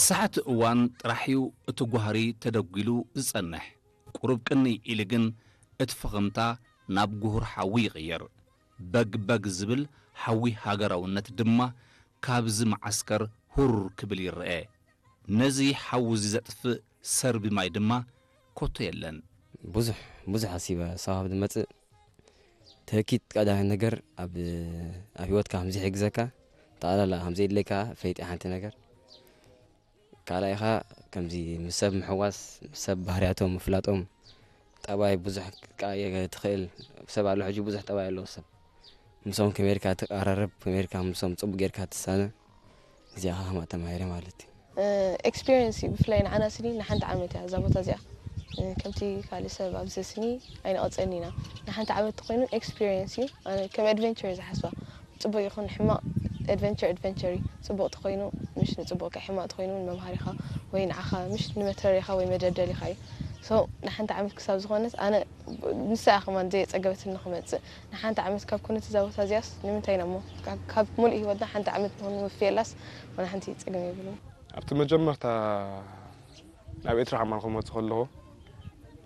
ሰዓት እዋን ጥራሕ እዩ እቲ ጓህሪ ተደጒሉ ዝጸንሕ። ቁሩብ ቅንይ ኢሉ ግን እቲ ፈኸምታ ናብ ጉሁር ሓዊ ይቕየር። በግ በግ ዝብል ሓዊ ሃገራውነት ድማ ካብዚ መዓስከር ሁር ክብል ይረኤ። ነዚ ሓዊ እዚ ዘጥፍእ ሰርቢ ማይ ድማ ኮቶ የለን። ብዙሕ ብዙሕ ኣሲበ ሳዋ ኣብ ዝመጽእ ትህኪት ቀዳማይ ነገር ኣብ ኣብ ህይወትካ ከም ዘይሕግዘካ፣ ጠቕላላ ከም ዘየድለካ ፈይጢ ሓንቲ ነገር። ካልኣይ ኸኣ ከምዚ ምስ ሰብ ምሕዋስ፣ ምስ ሰብ ባህርያቶም ምፍላጦም፣ ጠባይ ብዙሕ ክትቀያየር ትኽእል። ሰብ ኣሎ ሕጂ ብዙሕ ጠባይ ኣለዎ ሰብ። ምስኦም ከመይ ጌርካ ትቀራረብ፣ ከመይ ጌርካ ምስኦም ጽቡቅ ጌርካ ትሳነ፣ እዚኣ ኸኣ ተማሂረ ማለት እዩ። ኤክስፒሪየንስ እዩ። ብፍላይ ንዓና ስኒ ንሓንቲ ዓመት እያ እዛ ቦታ እዚኣ፣ እ፣ ከምቲ ካልእ ሰብ ኣብዚ ስኒ ኣይንቐጽን ኢና። ንሓንቲ ዓመት ተኾይኑ ኤክስፒሪየንስ እዩ። ኣነ ከም ኣድቨንቸር እየ ዝሓስባ። ጽቡቕ ይኹን ሕማቕ፣ ኣድቨንቸር ኣድቨንቸር እዩ። ጽቡቕ ተኾይኑ ምሽ ንጽቡቕካ፣ ሕማቕ ተኾይኑ እውን መምሃሪኻ ወይ ንዓኻ ምሽ ንመትረሪኻ ወይ መደልደሊኻ እዩ። ሶ ንሓንቲ ዓመት ክሳብ ዝኾነት ኣነ ንሳ እያ ከማን ዘየጸገበትኒ ክመጽእ። ንሓንቲ ዓመት ካብ ኮነት እዛ ቦታ እዚኣስ ንምንታይ ኢና እሞ ካብ፣ ካብ ሙሉእ ህይወትና ሓንቲ ዓመት ንኾን ንወፍየላስ ዋላ ሓንቲ ጸገም የብሉን። ኣብቲ መጀመርታ ናብ ኤርትራ ከማን ክመጽእ ከለኹ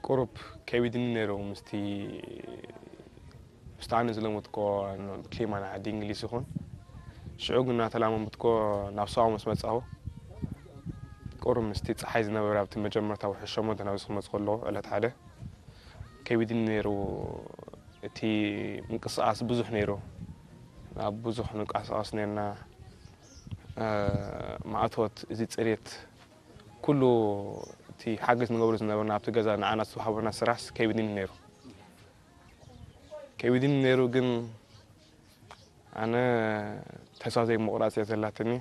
ቁሩብ ከቢድኒ ነይሩ ምስቲ ምስቲ ኣነ ዝለመድኮ ክሊማ ናይ ዓዲ እንግሊዝ ይኹን። ሽዑ ግን እናተላመምትኮ ናብ ሳዋ ምስ መጻኹ ቁሩብ ምስቲ ጸሓይ ዝነበረ ኣብቲ መጀመርታ ውሕድ ሸሞንተ ናብዚ ክመጽእ ከለኹ ዕለት ሓደ ከቢድኒ ነይሩ። እቲ ምንቅስቓስ ብዙሕ ነይሩ። ኣብ ብዙሕ ንንቀሳቐስ ነርና። እ፣ ማእቶት፣ እዚ ጽሬት፣ ኩሉ እቲ ሓገዝ ንገብሮ ዝነበርና ኣብቲ ገዛ ንዓና ዝተዋህበና ስራሕስ ከቢድኒ ነይሩ። ከቢድኒ ነይሩ ግን ኣነ ተስፋ ዘይምቑራጽ እያ ዘላትኒ።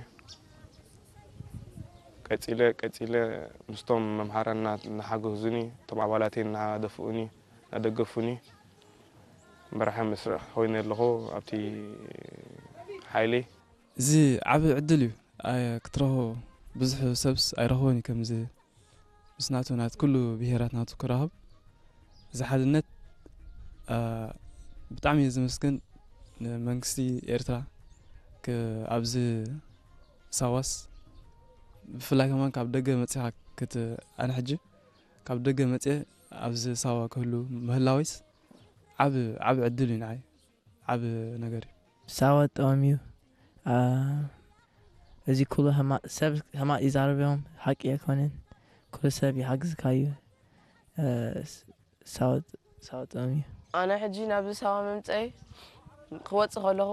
ቀጺለ፣ ቀጺለ ምስቶም መምሃራና እናሓገዙኒ፣ እቶም ኣባላተይ እናደፍኡኒ፣ እናደገፉኒ፣ መራሒ መስርዕ ኮይነ ኣለኹ ኣብቲ ሓይሊ። እዚ ዓቢ ዕድል እዩ። ኣየ-፣ ክትረኽቦ ብዙሕ ሰብስ ኣይረኽቦን እዩ ከምዚ ምስ ናቱ፣ ናት ኩሉ ብሄራት ናቱ ክራኸብ። እዚ ሓድነት፣ አ፣ ብጣዕሚ እየ ዘመስግን ንመንግስቲ ኤርትራ ክ-፣ ኣብዚ ሳዋስ ብፍላይ ከማን ካብ ደገ መጺኻ ክት-፣ ኣነ ሕጂ ካብ ደገ መጽየ ኣብዚ ሳዋ ክህሉ ምህላወይስ ዓቢ፣ ዓቢ ዕድል እዩ ንዓይ። ዓቢ ነገር እዩ። ሳዋ ጥዑም እዩ። አ፣ እዚ ኩሉ ሕማቕ፣ ሰብ ሕማቕ ይዛረብ እዮም፣ ሓቂ ኣይኮነን። ኩሉ ሰብ ይሓግዝካ እዩ። እ፣ ስ-፣ ሳዋ ጥ-፣ ሳዋ ጥዑም እዩ። ኣነ ሕጂ ናብዚ ሳዋ ምምጸይ ክወጽእ ከለኹ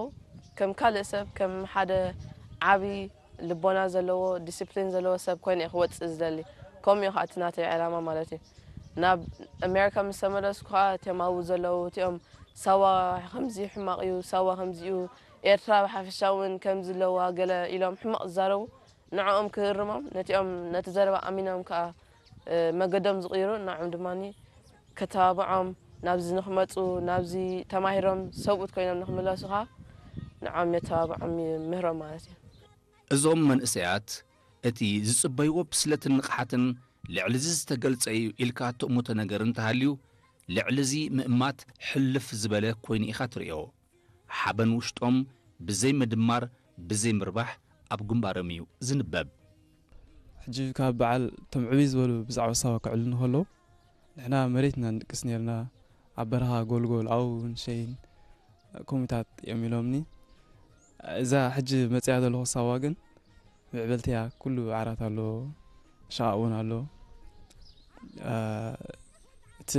ከም ካልእ ሰብ፣ ከም ሓደ ዓቢ ልቦና ዘለዎ፣ ዲስፕሊን ዘለዎ ሰብ ኮይነ እየ ክወጽእ ዝደሊ። ከምኡ እዩ ከኣ እቲ ናተይ ዕላማ ማለት እዩ። ናብ ኣሜሪካ ምስ ተመለስኩ ከኣ እቲኦም ኣብኡ ዘለዉ እቲኦም ሳዋ ከምዚ ሕማቕ እዩ፣ ሳዋ ከምዚ እዩ፣ ኤርትራ ብሓፈሻ እውን ከምዚ ኣለዋ ገለ ኢሎም ሕማቕ ዝዛረቡ ንዕኦም ክእርሞም፣ ነቲኦም ነቲ ዘረባ ኣሚኖም ከኣ፣ እ፣ መገዶም ዝቕይሩ ንዕኦም ድማኒ ከተባብዖም፣ ናብዚ ንኽመጹ፣ ናብዚ ተማሂሮም ሰብኡት ኮይኖም ንኽምለሱ ከኣ ንዕኦም የተባብዖም ይምህሮም ማለት እዩ። እዞም መንእሰያት እቲ ዝጽበይዎ ብስለትን ንቕሓትን ልዕሊ እዚ ዝተገልጸ እዩ ኢልካ ትእምቶ ነገር እንተሃልዩ፣ ልዕሊ እዚ ምእማት ሕልፍ ዝበለ ኮይኑ ኢኻ ትርእዮ። ሓበን ውሽጦም ብዘይ ምድማር፣ ብዘይ ምርባሕ ኣብ ግንባሮም እዩ ዝንበብ። ሕጂ ካብ በዓል እቶም ዕብይ ዝበሉ ብዛዕባ ሳዋ ክዕልሉ እንከለዉ፣ ንሕና መሬት ኢና ንድቅስ ነይርና፣ ኣብ በረኻ ጎልጎል፣ ኣብኡ እውን ሸይን ከምኡታት እዮም ኢሎምኒ። እዛ ሕጂ መጺኣ ዘለኹ ሳዋ ግን ምዕብልቲ እያ፣ ኩሉ ዓራት ኣሎ፣ ሸቓቕ እውን ኣሎ። እ፣ እቲ